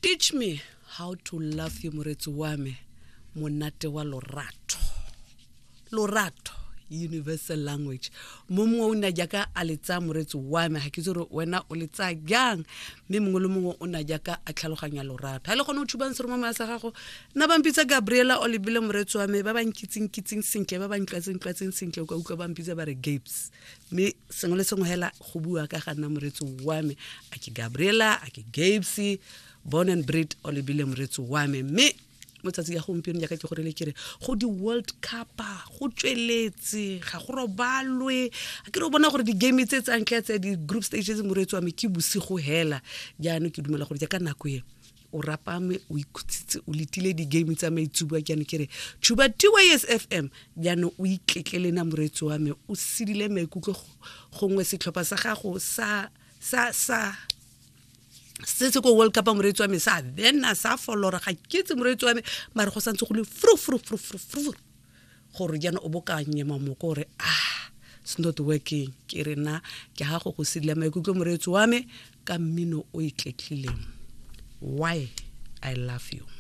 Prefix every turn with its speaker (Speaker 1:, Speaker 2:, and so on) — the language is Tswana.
Speaker 1: Teach me how to love you, moretsi wa me, monate wa lorato. Lorato, universal language. Mo mongwe o ne jaaka a le tsaya, moretsi wa me, ga ke itse gore wena o le tsaya jang, mme mongwe le mongwe o ne jaaka a tlhaloganya lorato. Ga le gone o thubang seromamaya sa gago, nna ba mpitsa Gabriela o lebile, moretsi wa me. Ba ba nkitseng kitseng sentle, ba ba ntlwatseng tlwatseng sentle, o ka utlwa ba mpitsa ba re Gabes, mme sengwe le sengwe hela go bua ka ga nna, moretsi wa me, a ke Gabriela, a ke Gabes, born and bred o lebile, moretsi wa me. Mme mo tsatsi ya gompieno, jaaka ke gorele kere go di-World Cup go tsweletse, ga go robalwe. A ke re o bona gore di-game tse tsang tla tse di-group stages, moreetsi wa me, ke bosigo hela. Jaanong ke dumela gore jaaka nako e o rapame, o ikhutsitse, o letile di-game tsa maitsubua. Jaanong ke re tshuba TYS FM, jaanong o itletlele na, moreetsi wa me, o sedile maikutlo, gongwe setlhopha sa gago sa sa sa se se ko World Cup, moreetsi wa me, sa bena sa folora, ga ke itse, moreetsi wa me, mare go santse go le fru fru fru fru fru gore jaana o bo ka nyema moko gore, ah, it's not working. Ke re na ke ga go go sedila maikutlo, moreetsi wa me, ka mmino o itletlileng, Why I Love You.